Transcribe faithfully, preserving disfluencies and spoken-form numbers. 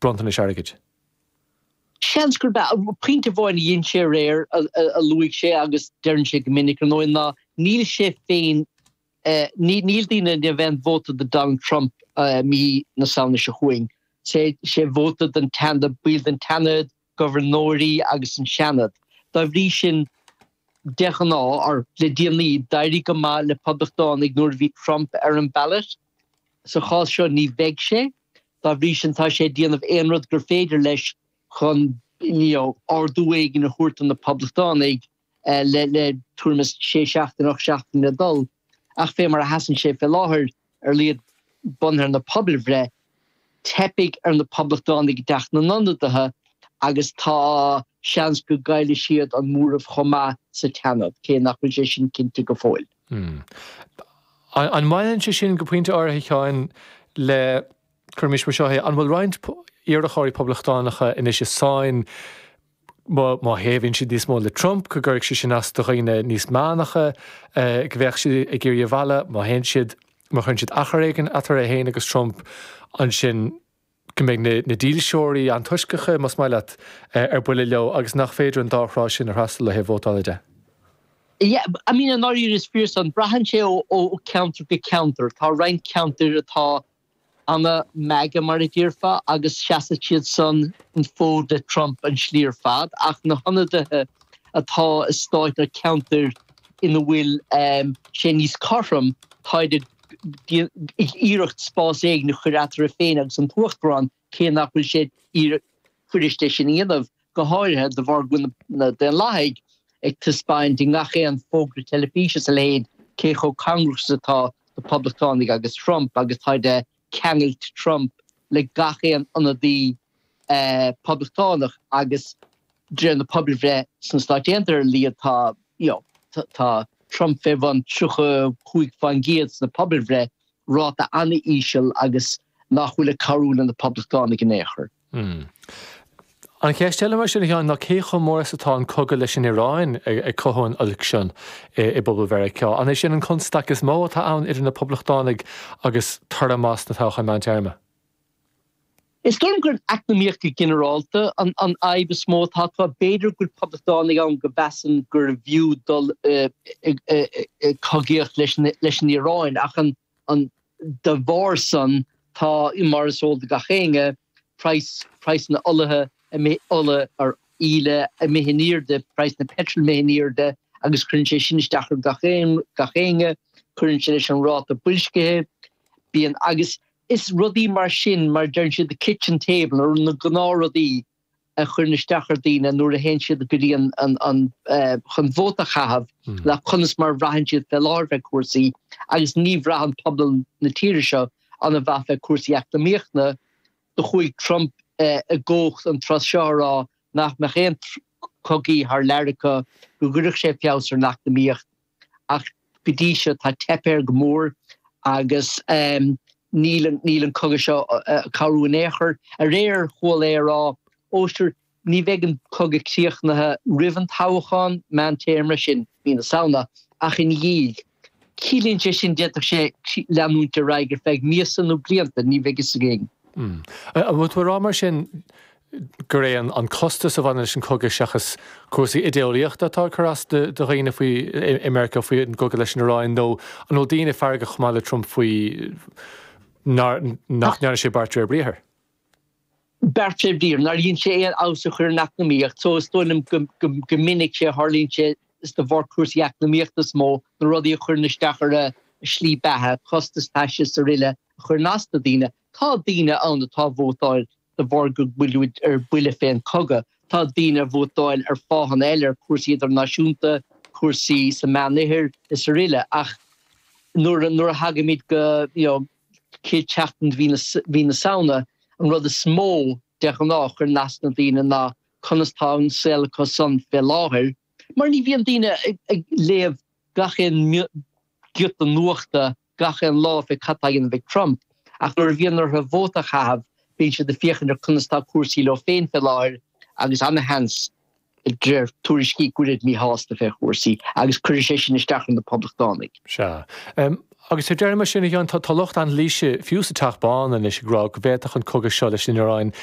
bronntanais airgid. Seans gurb ea. Pointe amháin a dhein sé aréir, a luaigh sé agus deireann sé go minic ar ndóigh, ná níl sé féin, níl daoine ag déanamh aon vóta do Donald Trump mí na Samhna seo chugainn. Sé sé vóta don tSeanad, baill den tSeanad, gobharnóirí agus an Seanad. Dá bhrí sin, de ghnáth, or le déanaí, d'éirigh go maith le Poblachtánaigh nuair a bhí Trump ar an ballot. Sa chás seo ní bheidh sé. Dá bhrí sin tá sé ag déanamh aon rud gur féidir leis chun you know ardú éigin a thabhairt do na Poblachtánaigh le le tuairim is sé seachtain, ocht seachtain le dul. Ach fé mar a sheasann sé fé láthair, ar a laghad bunaithe ar na pobalbhreith, teipfidh ar na Poblachtánaigh i dTeach na nIonadaithe agus tá seans go gcaillfidh siad an móramh chomh maith sa tSeanad, cé nach bhfuil sé sin cinnte go fóill. An mbaineann sé sin go pointe áirithe, a Sheáin, le, cuirimis mar seo é, an bhfuil roinnt iarrthóirí poblachtánacha anois i sáinn má thaobhaíonn siad níos mó le Trump, go gcuirfidh sé sin as do dhaoine níos meánacha, go mbeadh siad ag iarraidh a mhealladh, má théann siad, má chuireann siad achar éigin eatarthu féin agus Trump, ansin go mbeidh na dílseoirí antoisceacha, más maith leat, ar buile leo agus nach féidir an dá thrá sin a fhreastal ó thaobh vótála de. Yeah, I mean, i ndáiríre is fíor san. Braitheann sé ó cheantar go ceantar. Tá roinnt ceantair atá ana-MAGA mar a déarfá agus seasfaidh siad san an fód le Trump an slí ar fad ach na hionadaithe atá i stáit nó ceantair ina bhfuil sé níos cothrom, táid ag iarracht spás éigin a chur eatarthu féin agus an tUachtarán cé nach bhfuil sé fuirist é sin a dhéanamh, go háirithe de bharr go bhfuil na Daonlathaigh ag taispeáint i ngach aon fógra teilifíse is a leithéid cé chomh cóngarach is atá do Poblachtánaigh agus Trump agus táid ag ceangailt Trump le gach aon ionadaí Poblachtánach agus de réir na pobalbhreith sna Stáit Aontaithe ar a laghad tá you know tá Trump fé bhun tríocha cúig faoin gcéad sna pobalbhreith, ráta an-íseal agus nach bhfuil ag cabhrú le na Poblachtánaigh in aon chor. An cheist eile mar sin, a Sheáin, ná cé chomh mór is atá an cogadh leis an Iaráin ag cothú an oilc sin i bpobal Mheiriceá? An é sin an constaic is mó atá ann idir na Poblachtánaigh agus toradh maith sna toghcháin meántéarma? Is dóigh liom gur an eacnamaíocht go ginearálta an fhadhb is mó atá acu. B'fhéidir go bhfuil Poblachtánaigh ann go mheasann gurbh fhiú dul i cogaíocht leis an Iaráin ach an dá bharr san tá, mar is eol do gach éinne, praghas, praghsanna olaithe ola or íle imithe in airde, praghas na peitril imithe in airde agus cuireann sé sin isteach ar gach éinne, cuireann sé leis an ráta boilscithe, bíonn agus is rudaí mar sin, mar deireann siad the kitchen table, nó na gnáthrudaí a chuireann isteach ar daoine nuair a théann siad go dtí an an an chun vóta a chaitheamh le conas mar a bhraitheann siad fé láthair fé cúrsaí agus ní bhraitheann pobal na tíre seo an-mhaith fé cúrsaí eacnamaíochta. Do chuaigh Trump i gcumhacht an tráth seo a rá nach mbeadh aon chogaí thar lear acu, go gcuirfeadh sé feabhas ar an eacnamaíocht ach go dtí seo tá teipthe air go mór agus níl níl an cogadh seo ag cabhrú in aon chor. Aréir chuala é a rá, ó sure, ní bheidh an cogadh críochnaithe roimh an toghchán meántéarma sin, mí na Samhna, ach ina dhiaidh. Ciallaíonn sé sin d'fhéadfadh sé leanúint ar aghaidh ar feadh míosa nó blianta, ní bheidh fhios againn. An bhfuil tú ag rá mar sin gur é an costas a bhaineann leis an cogadh seachas cúrsaí idéeolaíochta atá ag cur as do dhaoine faoi i Meiriceá faoi an gcogadh leis an Iaráin nó an bhfuil daoine feargach chomh maith le Trump faoi nach ndearna sé beart de réir briathair? Beart de réir briathair, nár dhein sé aon fheabhas a chur ar an eacnamaíocht so is dóigh liom go minic sé a tharlaíonn sé is de bharr cúrsaí eacnamaíochta is mó na rudaí a chuireann isteach ar a slí beatha, costas taistil is aroile a chuireann as do daoine. Tá daoine ann atá ag vótáil de bharr go bhfuil ar buile fén cogadh. Tá daoine ag vótáil ar fáthanna eile, ar cúrsaí idirnáisiúnta, cúrsaí sa Meánoirthear is aroile ach nuair nuair a thagaimid go you know chéad tseachtain de mhí na Samhna, an rud is mó de ghnáth a chuireann as na daoine ná conas tá an saol acu san fé láthair mar ní bhíonn daoine ag léamh gach aon giota nuachta gach aon lá fé cad tá á dhéanamh ag Trump, ach nuair a bhíonn orthu vóta a chaitheamh, bíonn siad ag féachaint ar conas tá cúrsaí leo féin fé láthair agus ana-sheans, de réir tuairiscí, go bhfuilid míshásta fé chúrsaí agus cuirfidh sé sin isteach ar na Poblachtánaigh. Sea. Agus ar deireadh mar sin, a Sheáin, tá lucht anailíse, fiú sa Teach Bán anois, ag rá go bhféadfadh an cogadh seo leis an Iaráin